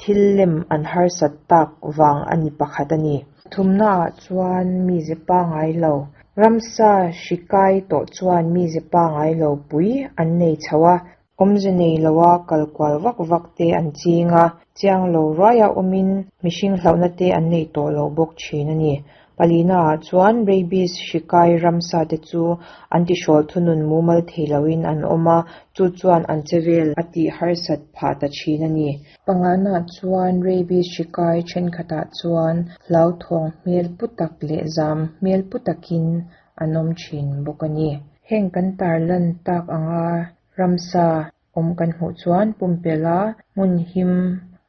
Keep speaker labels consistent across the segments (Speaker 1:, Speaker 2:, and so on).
Speaker 1: Thil lem an harsat tak vang a ni pakhat a ni. Thumnaah chuan mize pangai lo, ramsa hri kai tawh chuan mize pangai lo pui an nei chho a, awmze nei loa kal kual vak vak te an ching a, chiang lo ruaia awmin mihring hlauhna te an nei tawh lo bawk thin a ni. Palinaah chuan rabies hri kai ramsa te chu an tihrawl thunun mumal thei loin an awm a, chu chuan an chevel a tih harsat phah ta thin a ni. Panganaah chuan rabies hri kai thenkhatah chuan hlauthawng hmel pu tak leh zam hmel pu takin an awm thin bawk a ni. Heng kan tarlan tak anga ramsa awm kan hmuh chuan pumpelh a hmun him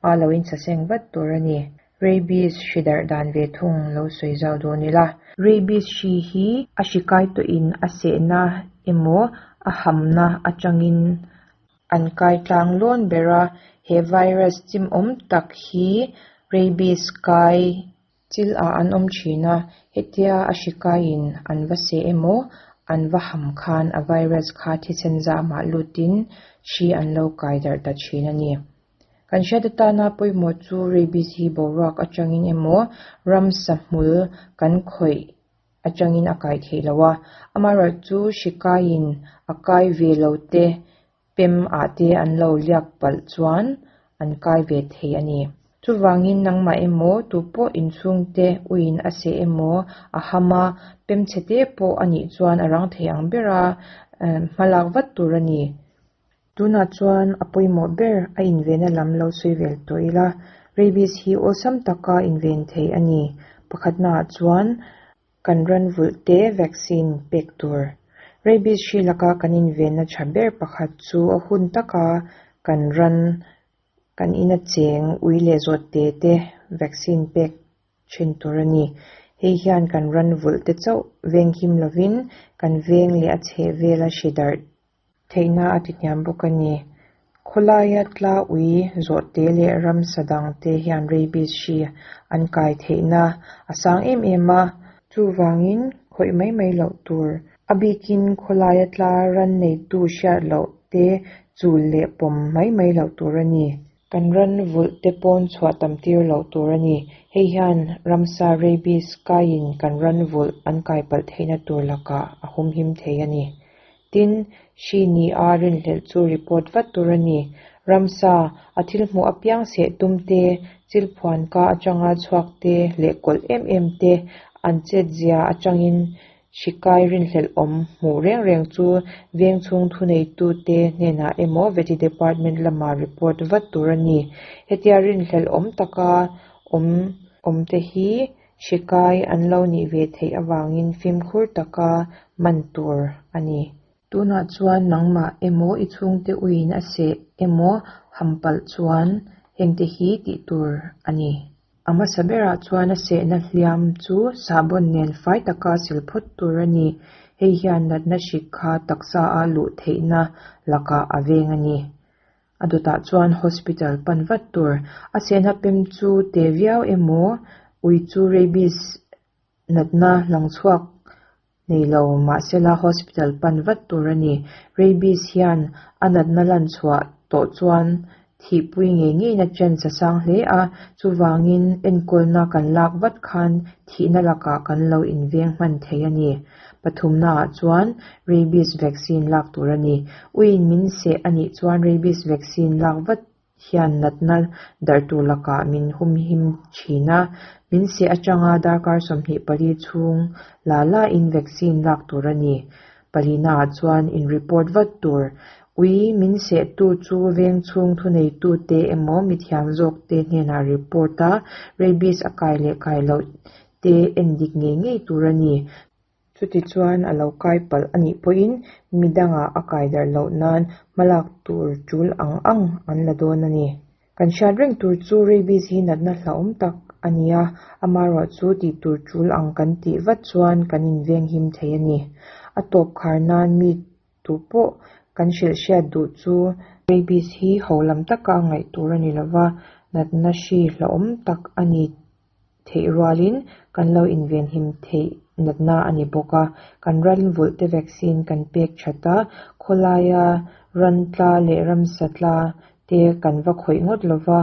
Speaker 1: a lo insaseng vat tur a ni. Rabies hri darh dan ve thung lo sawi zau dawn ila. Rabies hri hi a hri kai tawhin a sehna emaw a hamna atangin an kai tlang lawn ber a, he virus chimawm tak hi rabies kai chil ah an awm thin a, hetia a hri kaiin an va seh emaw an va ham khan a virus kha thisen zamah lutin hri an lo kai darh ta thin a ni. Kan hriat atana pawimawh chu rabies hi boruak atangin emaw ramsa hmul kan khawih atangin a kai theih lo a, amaherawhchu hri kaiin a kai ve lo te pem ah te an lo liak palh chuan an kai ve thei a ni. Chuvangin nangmah emaw tupawh inchhungte uiin a seh emaw a ham a, pem chhe te pawh a nih chuan a rang thei ang bera hmalak vat tur a ni. Tunah chuan a pawimawh ber a invenna lam lo sawi vel tawh ila, rabies hi awlsam taka inven thei a ni. Pakhatnaah chuan kan ran vulh te vaccine pek tur. Rabies hri laka kan invenna tha ber pakhat chu a hun taka kan ran kan ina cheng ui leh zawt te te vaccine pek thin tur a ni. Hei hian kan ran vulh te chauh venghim lovin kan veng leh a chhehvela hri darh Theihna a ti hniam bawk a ni. Khawlaia tla ui zawhte leh ramsa dangte hian rabies hri an kai theihna a sang em em a. Chuvangin khawih mai mai loh tur. A bikin khawlaia tla ran neitu hriat loh te chul leh pawm mai mai loh tur a ni. Kan ran vulh te pawn chhuah tam tir loh tur a ni. Hei hian ramsa rabies kaiin kan ran vulh an kai palh theihna tur lakah a humhim thei a ni. Tin, hri ni a rinhlelh chu report vat tur a ni. Ramsa, a thil hmuh apiang seh tum te, chil phuan ka atanga chhuak te leh kawlh em em te an chetzia atangin Hri kai rinhlelh awm hmuh reng reng chu veng chhung thuneitute hnenah emaw Vety Department lama report vat tur a ni. Hetia rinhlelh awm taka awm awmte hi hri kai an lo nih ve theih avangin fimkhur taka man tur a ni. Tunah chuan nangmah emaw i chhungte uiin a seh emaw ham palh chuan hengte hi tih tur a ni. A hmasa berah chuan a sehna hliam chu sahbawn nen fai taka sil phawt tur a ni. Hei hian natna hrik kha taksa a luh theihna lakah a veng a ni. A dawtah chuan hospital pan vat tur. A sehna pem chu te viau emaw, ui chu rabies natna lang chhuak nei lo mahsela hospital pan vat tur a ni. Rabies hian a natna lan chhuah tawh chuan thihpui ngei ngeina chance a sang hle a, chuvangin enkawlna kan lak vat khan thihna lakah kan lo inveng hman thei a ni. Pathumnaah chuan rabies vaccine lak tur a ni. Uiin min seh a nih chuan rabies vaccine lak vat hian natna darh tur lakah min humhim thin a, min seh atanga darkar 24 chhung la lain vaccine lak tur a ni. Palinaah chuan in report vat tur. Ui min sehtu chu veng chhung thuneitute emaw mithiam zawkte hnenah report a, rabies a kai leh kai loh te endik ngei ngei tur a ni. Chutichuan a lo kai palh a nih pawhin mi dangah a kai darh loh nan hmalak tur tul ang ang an la dawn a ni. Kan hriat reng tur chu rabies hi natna hlauhawm tak a ni a, amaherawh chu tih tur tul ang kan tih vat chuan kan invenghim thei a ni. A tawp khar nan mi tu pawh kan hrilh hriat duh chu rabies hi ho lam taka ngaih tur a ni lova, natna hri hlauhawm tak a ni theih rualin kan lo invenhim theih natna a ni bawk a. Kan ran vulhte vaccine kan pek that a, khawlaia ran tla leh ramsa tla te kan va khawih ngawt lova,